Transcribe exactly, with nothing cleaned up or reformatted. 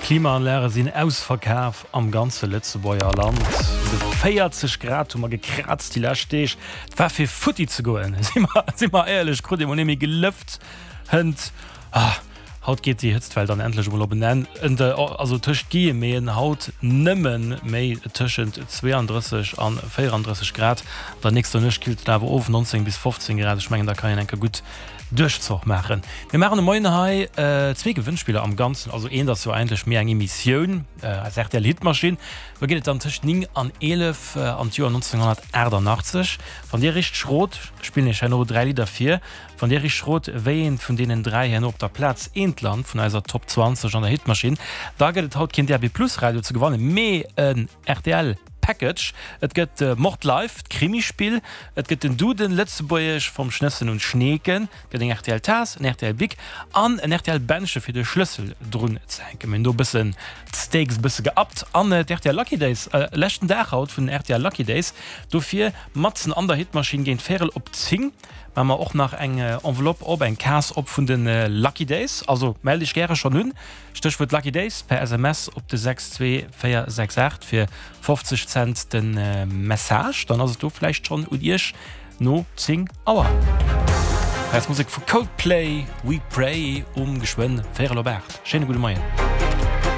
D'Klimaanlage sinn ausverkaf am ganze Lëtzebuerger Land. De véierzeg Grad hu mer gekraazt déi lescht Deeg. Et war fir futti ze goen, si mer, si mer éierlech, krut ee mol net méi gelëft hënt. Ah, haut geet déi Hëtztwell dann endlech emol op en Enn. Also tëscht Guillemeten haut nëmme méi tëschent zweeandrësseg an véierandrësseg Grad. An der nächster Nuecht killt et awer of, nonzéng bis fofzéng Grad. Ech mengen, da kann een enke gutt Duerchzoch maachen. Mir maachen de Moien hei zwee Gewënnspiller am Ganzen, also eent ass jo eigentlech méi eng Emissioun, eis R T L Hitmaschinn. Do geet et dann tëscht néng an eelef an d'Joer nonzénghonnertaachtanaachtzeg. Wann Dir richteg rot, spillen ech herno dräi Lidder vir. Wann Dir richteg rot, wéi eent vun deenen dräi herno op der Plaz eent lant vun eiser Top zwanzeg an der Hitmaschinn, da gëtt et haut keen D A B Plus Radio ze gewannen, mee en R T L Package. Et gëtt Mord Live, d'Krimispill, et gëtt den Duden Lëtzebuergesch vom Schnëssen und Schneeken, et gëtt eng R T L Taass, en R T L Bic an en R T L Bändche fir de Schlëssel drun ze hänken. Mir hunn do e bëssen d'Stakes e bësse geuppt. An d'R T L Lucky Days, leschten Dag haut vun den R T L Lucky Days, dofir matzen an der Hitmaschinn géint véierel op zéng maache mer och nach eng Enveloppe op, eng Case op vun de Lucky Days. Also mell dech gäre schonn un, Stéchwuert Lucky Days per S M S op de sechs zwee véier sechs aacht fir fofzeg Cent de Message, dann ass et do vläicht schonn un iech no zéng Auer. Hei ass Musek vu Coldplay, We Pray um geschwënn véierel op aacht. Schéine gudde Moien.